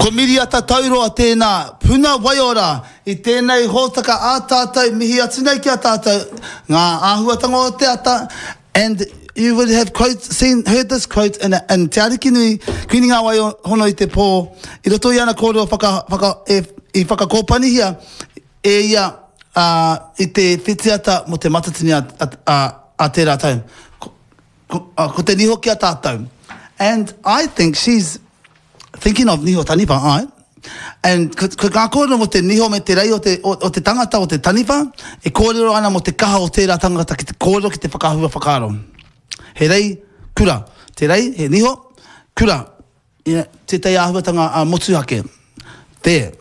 Ko Miriata Tauroa tēnā, puna waiora i tēnei hōtaka ā tātou, mihi atu nei ki a tātou, ngā āhuatanga o te ata, and you would have quote, seen, heard this quote in, in Te Arikinui, Kuini Ngā Wai Hono i te Pō, i roto i ana kōrero whaka, whaka, e, i whakakōpanihia e ia ā, i te whitiata mō te Matatini a, a, a, a tērā tau. Ko, ko, ko te niho ki a tātou. And I think she's thinking of niho taniwha, āe. And ko, ko ngā kōrero mō te niho me te rei o te, o, o te tangata, o te taniwha, e kōrero ana mō te kaha o tērā tangata ki te kōrero, ki te whakahua whakaaro. He rei kura. Te rei, he niho, kura. Yeah, tētahi āhuatanga a motuhake. There.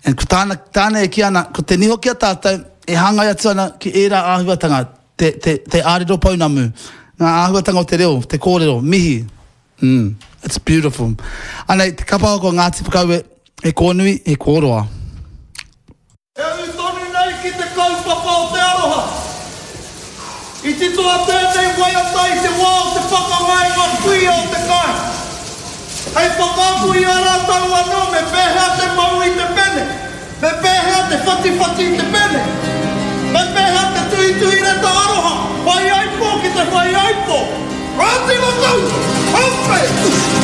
And ko tāna, tāna e kī ana, ko te niho ki a tātou, e hāngai atu ana ki ērā āhuatanga, te, te, te ārero pounamu, ngā āhuatanga o te reo, te kōrero, mihi. Mm, it's beautiful. Anei, te kapa haka o Ngāti Whakaue, he kōnui, he kōroa. E ū tonu nei ki te kaupapa o te aroha. I titoa tēnei waiata i te wā o te pakanga e ngā kuia o te kāinga. Hei whakaako i a rātou anō me pēhea te mau i te pene, me pēhea te whatiwhati i te pene, me pēhea te tuhituhi reta aroha, whaiaipo ki te whaiaipo. Ngāti Whakaue! Haumei!